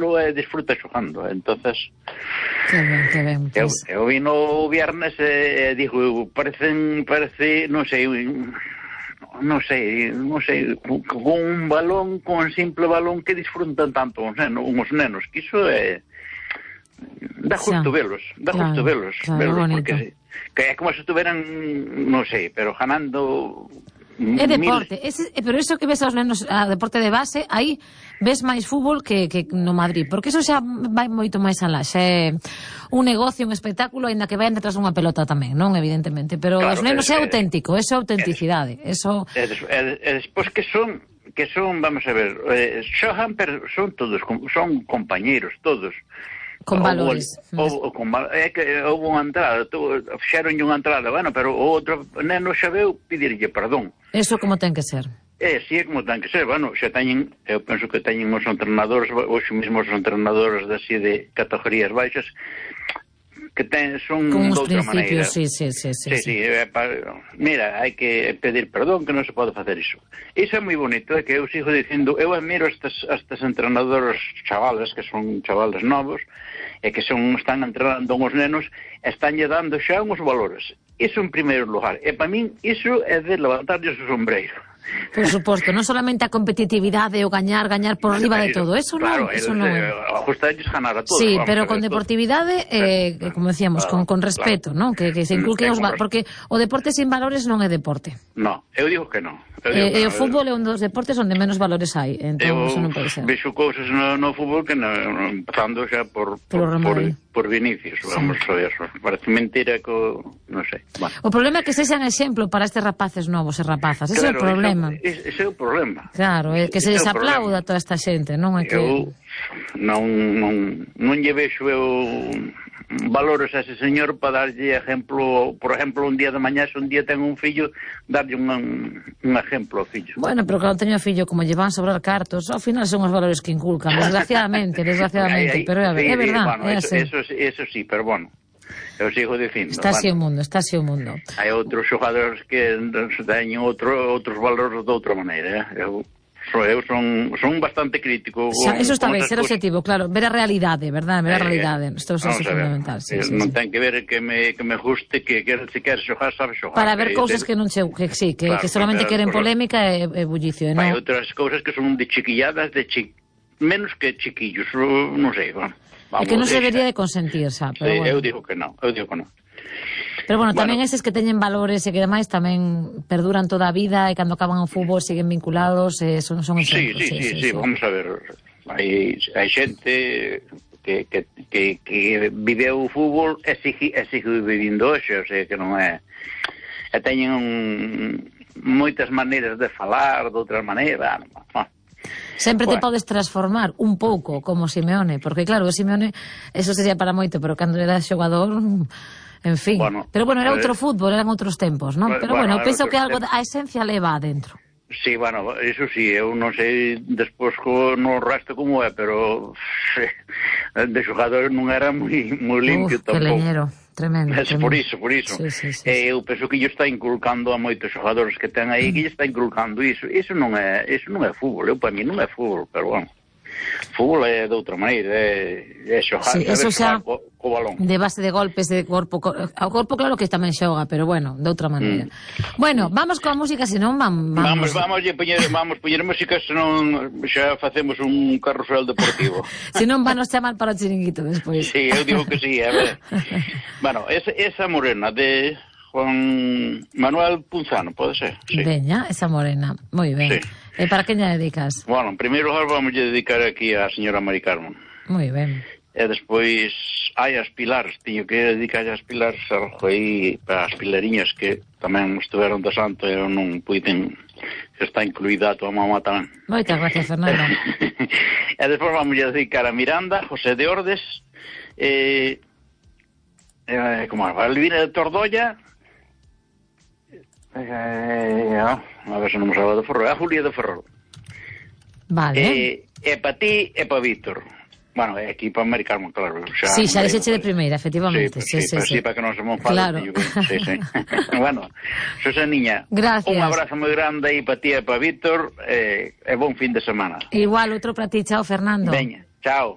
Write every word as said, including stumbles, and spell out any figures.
xogalo e disfruta xogando, entonces que ben, que ben, pues... eu, eu vino o viernes e, e digo, parecen, parece, non sei, non sei, non sei, con un balón, con un simple balón que disfrutan tanto os nenos, uns nenos, que iso é dá justo sí. velos, dá claro, justo velos, claro, velos bonito. Porque que é como se estuveran, non sei, pero ganando. É deporte, ese, pero eso que ves aos nenos a deporte de base, aí ves máis fútbol que, que no Madrid, porque eso xa vai moito máis alá, xa é un negocio, un espectáculo, ainda que vayan detrás dunha pelota tamén, non, evidentemente, pero claro, os nenos é, é auténtico, eso é autenticidade, eso... E despois que son, que son, vamos a ver, eh, xogan, pero son todos, son compañeros, todos, con valores. Ou, ou, con, é que houve unha entrada, fixeron unha entrada, bueno, pero o outro neno xa veu pedirlle perdón. Eso como ten que ser. É, si é como ten que ser, bueno, xa teñen, eu penso que teñen os entrenadores, os mesmos entrenadores así de categorías baixas, que ten, son de outra maneira. Sí, sí, sí, sí, sí, sí. sí é, pa, mira, hai que pedir perdón, que non se pode facer iso. Iso é moi bonito, é que eu sigo dicindo, eu admiro estes, estes entrenadores chavales, que son chavales novos, e que son, están entrenando os nenos, están lle dando xa uns valores. Iso en primeiro lugar. E para min, iso é de levantarlles o sombreiro. Por suposto, non solamente a competitividade, o gañar, gañar por riba de todo, eso non, claro, eso non. Ajustarlles ganar a todos. Sí, pero con deportividade, eh, claro, como decíamos, claro, con, con respeto, claro, non? Que, que se inculquen os valores, porque o deporte sin valores non é deporte. No, eu digo que non. E eh, eh, o fútbol é un dos deportes onde menos valores hai, entón eso non pode ser. Eu vexo cousas no, no fútbol que no, empezando xa por, por, por, por Vinicius, vamos sí. a ver, parece mentira que, non sei. Bueno. O problema é que sexan exemplo para estes rapaces novos e rapazas, ese claro, é o problema. Ese, ese é o problema. Claro, é que se les aplauda toda esta xente, non é que... Eu non, non, non lle vexo eu valores a ese señor para darlle exemplo, por exemplo, un día de mañá, se un día ten un fillo, darlle un, un exemplo ao fillo. Bueno, pero cando teño fillo, como lle van sobrar cartos, ao final son os valores que inculcan, desgraciadamente, desgraciadamente, pero é, é verdad, bueno, é eso, eso, eso sí, pero bueno, eu sigo dicindo. Está así o mundo, está así o mundo. Hai outros xogadores que teñen outro, outros valores de outra maneira, eh? eu... Eu son, son bastante crítico. Xa, eso está ben, ser objetivo, claro, ver a realidade, verdad, ver a realidade, isto é fundamental. Sí, sí, non sí. ten que ver que me, que me guste, que, que se quer xogar, sabe xogar. Para ver cousas que non che, que sí, que, claro, que solamente queren polémica e, e bullicio, non? Hai outras cousas que son de chiquilladas, de chi... menos que chiquillos, non sei, vamos. É que non se debería de consentir, xa, pero sí, bueno. Eu digo que non, eu digo que non. Pero bueno, tamén bueno. eses que teñen valores e que demais tamén perduran toda a vida e cando acaban o fútbol siguen vinculados e son, son exemplos. Sí, sí, sí, sí, sí, sí, vamos a ver, hai, hai xente que, que, que, que viveu o fútbol e sigue, e sigue vivindo hoxe, o sea que non é... E teñen un, moitas maneiras de falar, de outra maneira, non. Sempre bueno. Te podes transformar un pouco como Simeone, porque claro, o Simeone, eso sería para moito, pero cando era xogador... En fin, bueno, pero bueno, era outro eh, fútbol, eran outros tempos, non? Pero bueno, bueno penso que algo, a esencia leva adentro. Sí, bueno, eso sí, eu non sei despois no resto como é, pero de xogador non era moi moi limpio Uf, tampouco. Que leñero, tremendo, es, tremendo. Por iso, por iso. Sí, sí, sí, eh, eu penso que lle está inculcando a moitos xogadores que ten aí, mm. que lle está inculcando iso. Iso non é, iso non é fútbol, eu para mí non é fútbol, pero bueno. Fútbol é de outra maneira, é, é xogar, sí, eso xa co, co balón. De base de golpes de corpo, ao corpo claro que tamén xoga, pero bueno, de outra maneira. Mm. Bueno, vamos coa música, senón vamos... Vamos, vamos, poñer, vamos poñer música, senón xa facemos un carrusel deportivo. Senón vanos chamar para o chiringuito despois. Sí, eu digo que sí, a ver. Bueno, esa, esa morena de Juan Manuel Punzano, pode ser? Sí. Veña, esa morena, moi ben. Sí. E para que lle dedicas? Bueno, en primeiro lugar vamos a dedicar aquí a señora Mari Carmen. Moi ben. E despois hai as Pilares, teño que dedicar as Pilares algo aí para as pilariñas que tamén estiveron de santo e non puiden, que está incluída a tua mamá tamén. Moitas gracias, Fernando. E despois vamos a dedicar a Miranda, José de Ordes, e eh, como a Valvina de Tordolla, Eh, a ver se non me salva de Ferrol, a Julia de Ferrol. Vale. E, e para ti e para Víctor. Bueno, é aquí para Mari Carmen, claro. Xa, sí, xa deixeche de primeira, efectivamente. Sí, sí, sí, sí, sí, para que non se me enfade. Claro. Yo, sí, sí. Bueno, Susaniña, gracias. Un abrazo moi grande aí para ti e para Víctor e, e bon fin de semana. Igual, outro para ti, chao, Fernando. Veña, chao.